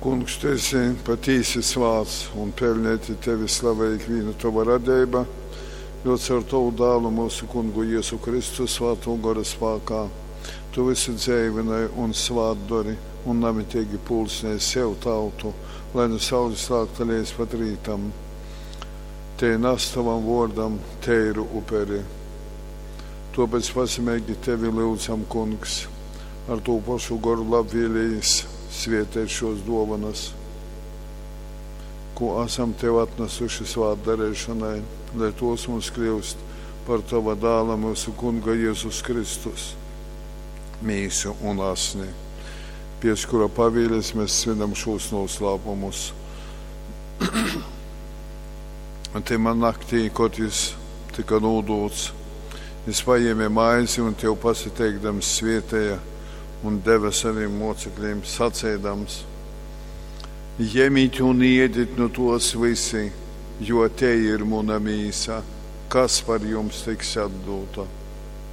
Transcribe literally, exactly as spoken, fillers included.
Kungs, tu esi patīsi svāts un peļneiti tevi slavej ikvīna tova radeiba, jo caur tovu dālu myusu Kungu Jezu Kristu svātō gora spākā tu vysu dzeivynoj un svātdori un namiteigi pulcinej sev tautu, lai nu saules lākta leidz pat rītam tei nas tovam vōrdam teiru uperi. Tōpēc pazemeigi tevi lyudzam, Kungs, ar tū pošu goru labvēlījis svēteit šos dōvonas, ko asam tev atnasuši svātdareišonai, lai tos mums kļūst par tova dāla myusu Kunga Jezus Kristus mīsu un asni, pēc kura pavīles mēs svinam šos noslēpumus. Un tymā naktī, kad jis tika nūdūts, jis paēma maizi un tev pasateikdams svietēja un deva saviem mocekļiem saceidams: Jemit un iedit nu tos visi, jo te ir muna mīsa, kas par jums tiks atdūta.